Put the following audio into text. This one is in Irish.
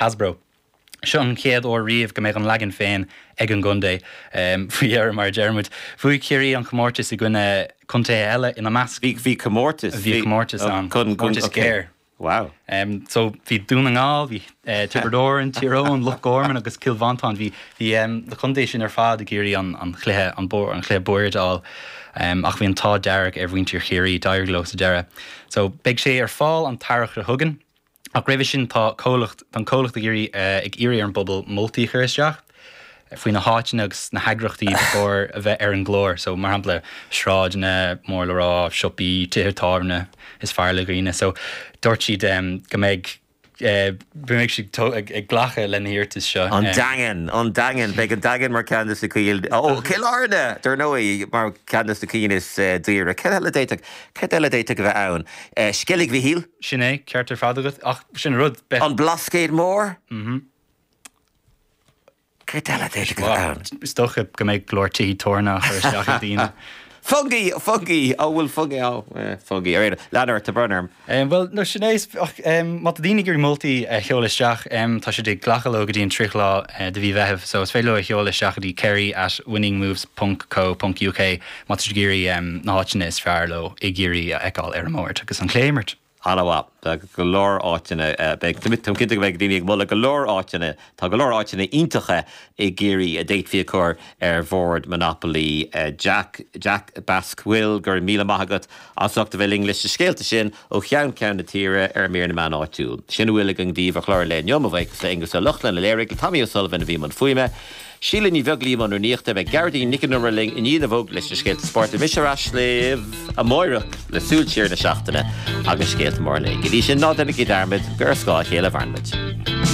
Hasbro. Seo an chéad uair riamh go mbeidh an leagan féin ag an gcontae, faoi dheireadh, mar a deir muid. Bhuaigh Ciarraí an comórtas i gcoinne contaetha eile, ina measc. Bhí comórtas? Bhí comórtas ann. Comórtas géar. Wow. So bhí Dún na nGall, bhí Tiobraid Árann, Tír Eoghain, Loch Garman agus Cill Mhantáin, bhí bhí na contaetha sin ar fad ag iarraidh an an chluiche an an chluiche boird a fháil ach bhí an t-ádh dearg ar mhuintir Chiarraí, d'éirigh leo sa deireadh. So beidh sé ar fáil an t-earrach seo chugainn. Ach roimhe sin tá comhlacht, tá an comhlacht ag iarraidh, ag iarraidh ar an bpobal moltaí a chur isteach faoi na háiteanna agus na heagraíochtaí ba chóir a bheith ar an gclár. So, mar shampla, sráideanna mór le rá, siopaí, tithe tábhairne is fearr le dhaoine. So, dúirt siad go mbeidh, go mbeidh siad ag glacadh le na hiarratais seo. An Daingean, an Daingean, beidh an Daingean mar ceann de na cinn, ó, Cill Airne, dar ndóigh, mar ceann de na cinn is daoire. Cad eile a d'fhéadfadh, cad eile a d'fhéadfadh a bheith ann? Sceilg Mhichíl? Sin é, ceart ar fad agat. Ach sin an rud, beidh. An Blascaod Mór? Mhm. Céard eile a d'fhéadfadh a bheith ann? Is dócha go mbeidh go leor tithí tabhairne á chur isteach ag daoine. Fungie! Fungie! Ó, bhfuil Fungie ann? Eh, Fungie. Ar aon nós, lean ort, tá brón orm. Bhuel, no, sin é. Ach má tá daoine ag iarraidh moltaí a sheoladh isteach, tá siad ag glacadh leo go dtí an 30 lá de mhí Mheithimh. So is féidir leo a sheoladh isteach go dtí kerry at winningmoves ponc co ponc uk má tá siad ag iarraidh na háiteanna is fearr leo i gCiarraí a fheiceáil ar an mbord agus an cluiche a imirt. An-mhaith. Tá go leor áiteanna, beidh, táim cinnte go mbeidh daoine ag moladh go leor áiteanna, tá go leor áiteanna iontacha i gCiarraí a d'fhéadfaí a chur ar bhord Monopoly. Jack, Jack Basquille, go raibh míle maith agat as ucht a bheith linn leis na scéalta sin ó cheann ceann na tíre ar Mír na Meán Áitiúil. Sin a bhfuil againn daoibh ar chlár an lae inniu, mo bhuíochas le Aonghus Ó Lochlainn a léirigh, le Tommy O'Sullivan a bhí i mbun fuaime. Síle Ní Bheaglaoí i mbun rúnaíochta. Beidh Gearóidín Nic an Iomaire linn i ndiaidh na bhfógraí leis na scéalta spóirt. Beidh mise ar ais libh amáireach le súil siar ar an seachtain agus scéalta móra an lae. Go dtí sin, ná déanaigí dearmad gur ar scáth a chéile a mhaireann muid.